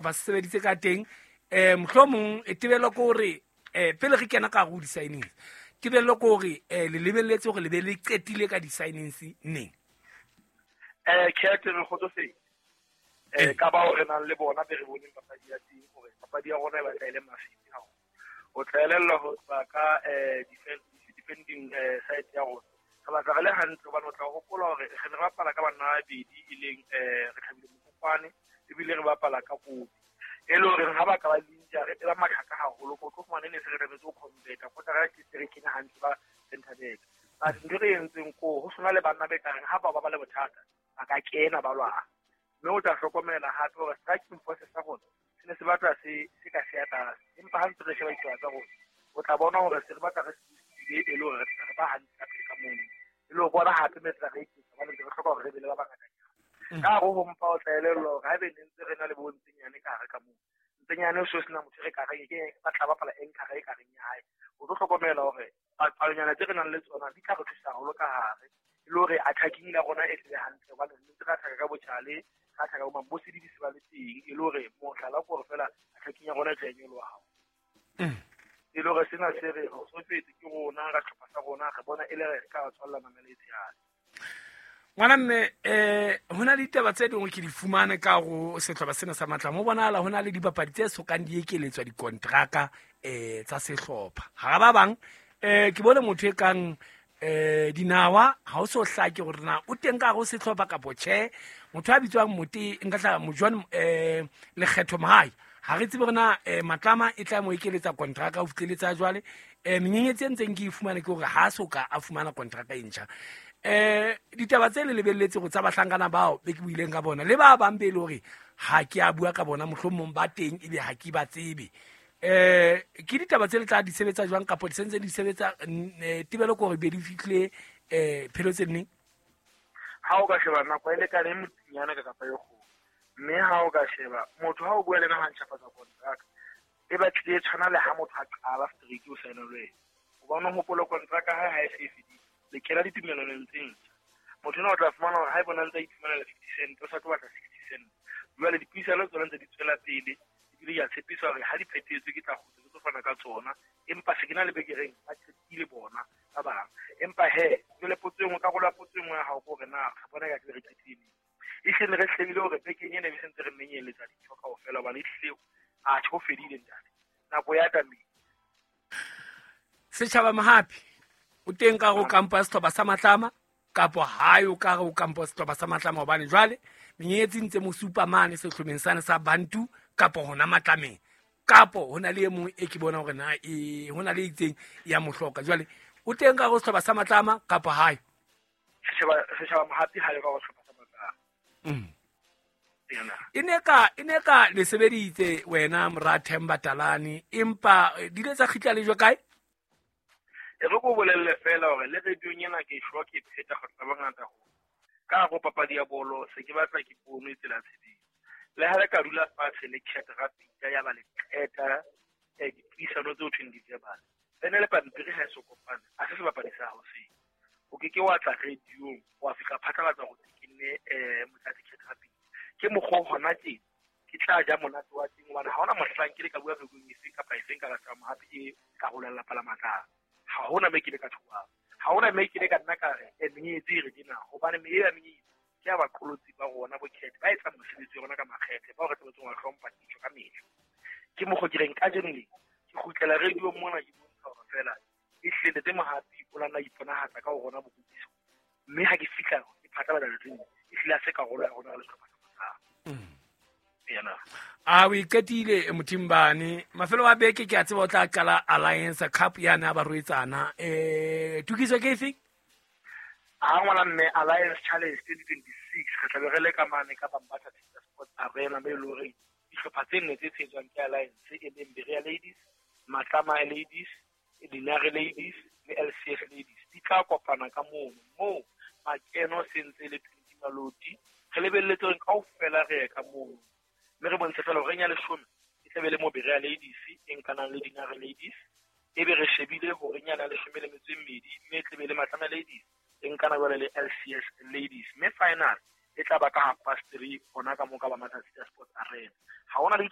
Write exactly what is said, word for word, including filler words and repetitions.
Ba sebeditse ka teng eh mohlomong e tebelo ke hore eh pele re kena ka go di-signings tebelo ke hore eh le lebelletse hore le be le qetile ka di-signings neng? Eh Cat, re kgotsofetse eh ka bao re nang le bona be re boneng papadi ya teng hore papadi ya rona e batla e le mafifi haholo. O tla elellwa ho tloha ka eh defending side ya rona re batla re le hantle hobane o tla hopola hore re ne re bapala ka banna ba babedi e leng eh re Thabile Mokopane ebile re bapala ka Kobi e le hore ha ba ka ba injury e ba mathata haholo ko tlo fumana ne se re tlametse ho convert kotara ke se re kenya hantle ba center back. But ntho re entseng ko ho sona le banna be ka reng ha ba ba ba le bothata ba ka kena ba lwana mme o tla hlokomela hape hore striking force sa rona se ne se batla se se ka se ya tlase empa ha ntse re sheba ditaba tsa rona o tla bona hore se re batla re se e le hore re tla re ba hantle ka pele ka mono e le ho bona hape me tla re iketsa hobane re hloka hore re be le ba bangata. Ka hare ho mpa o tla elellwa hore haebe ne ntse re na le bo Ntsenyane ka hare ka moo Ntsenyane o so sena motho re ka reng ke ba tla bapala anchor e ka reng ya hae o tlo hlokomela hore palonyana tse re nang le tsona di tla re thusa haholo ka hare e le hore attacking ya rona e tle hantle hobane re ntse re attack ka botjhale re attack ka bo Mabosedi di se ba le teng e le hore mohlala ke hore fela attacking ya rona e tla nyoloha haholo. E le hore sena se re kgotsofetse ke rona ka sehlopha sa rona re bona e le re ka tswalla mamela e tshehadi. Ngwana mme eh hona le ditaba tse dingwe ke di fumane ka go sehlopha sena sa Matlama ho bonahala hona le dibapadi tse sokang di ekeletswa dikontraka eh tsa sehlopha ha ba bang eh ke bone motho e kang eh dinawa ha o so hlake hore na o teng ka go sehlopha kapo tjhe motho a bitswang Mote nka tla Mojoan eh Lekgetho Mahai ha re tsebe hore na Matlama e tla mo ekeletsa kontraka ho fihleletsa jwale eh menyenyetsi e ntseng ke e fumane ke hore ha so ka a fumana kontraka e ntjha. Eh ditaba tse le lebelletse go tsa bahlankana bao be ke buileng ka bona le ba bang be le hore ha ke a bua ka bona mohlomong ba teng ebe ha ke ba tsebe eh ke ditaba tse le tla di sebetsa jwang kapo di sentse di sebetsa tebelo ke hore be di fihle eh phelo tse neng? Ha o ka sheba nako e lekane motinyana ka kapa e kgolo mme ha o ka sheba motho ha o bua le na ha ntjhafatsa kontraka e batlile e tshwana le ha motho a qala straight o saena le wena hobane o hopola kontraka hae ha e se e fedile le kena ditumellanong tse ntjha. Motho ena o tla fumana hore ha e bona ntse a iphumanela fifty cent o sa tlo batla sixty cent. Jwale dipuisano tsona ntse di tswela pele ebile ke a tshepisa hore ha di phethetswe ke tla kgutla ke tlo fana ka tsona empa se ke na le bekereng ba qetile bona ba bang. Empa he jwale potso e nngwe karolo ya potso e nngwe ya hao ke hore na re bona ka ke re qetile neng. Ehlile re hlebile hore bekeng ena e be sentse re menyeletsa dintho kaofela hobane ehlile atjhe ho fedile ntate nako ya tamile. Setjhaba Mohapi o teng ka go kampo ya sehlopha sa Matlama kapo hae o ka go kampo ya sehlopha sa Matlama hobane jwale menyenyetsi ntse mo supa mane sehlopheng sane sa Bantu kapo hona Matlameng kapo hona le e mong e ke bona hore na e hona le itseng ya mohloka jwale o teng ka go sehlopha sa Matlama kapo hae? Setjhaba setjhaba Mohapi hae ka go sehlopha sa Matlama. Mm. E ne ka e ne ka le sebeditse wena mora Themba Talane empa di ile tsa kgitla le jwa kae? E re ko bolelle fela hore le radiong ena ke shwa ke pheta kgotsa bangata ho ka go papadi ya bolo se ke batla ke pono e tsela tshebetso le ha re ka dula fatshe le Cat Rapita ya ba le qeta eh dipuisano tse ho thweng di-verbal ene le pampiri ha e so kopane a se sebapadi sa hao seo o ke ke wa tla radiong wa fihla phatlalatsa hore ke nne eh Motlatsi Cat Rapita ke mokgwa hona tje ke tla ja monate wa teng hobane ha hona mohlang ke le ka bua radiong efeng kapa efeng ka la Mohapi e ka hola lelapa la Matlama. Ha hona me ke le ka thuwa ha hona me ke le ka nna ka re e menyetsi e re dina hobane me ya menyetsi ke ya baqolotsi ba rona bo Cat ba etsa mosebetsi wa rona ka makgethe ba re tsebetseng wa hlompha ditjo ka mehla ke mokgwa ke reng kajeno le ke kgutlela radio mona ke bontsha hore fela e hlile tse Mohapi o lana iponahatsa ka ho rona bokutlwiso mme ha ke fihla ke phatlalatsa letseng e hlile a se karolo ya rona le sehlopha sa Matlama. Yena a o iqetile Mothimbane mafelo a beke ke a tseba o tla qala Alliance Cup yana ba roetsana eh tukiso ke efe? Ha ngwana mme Alliance Challenge twenty twenty-six re tla be re le ka mane ka Bambatha Sports Arena me le hore dihlopha tse nne tse tshehetswang ke Alliance e leng Berea Ladies, Matlama Ladies, Dinare Ladies le L C F Ladies di tla kopana ka mono moo makeno sentse le twenty maloti re lebelletse hore kaofela re ye ka mono mme re bontshe fela hore nya leshome e tla be le mo Berea Ladies e nkanang le Dinare Ladies e be re shebile hore nyana leshome le metso e mmedi mme e tla be le Matlama Ladies e nkana jwale le L C S Ladies mme final E tla ba ka half past three hona ka mo ka ba Matsatsi Sports Arena. Ha hona le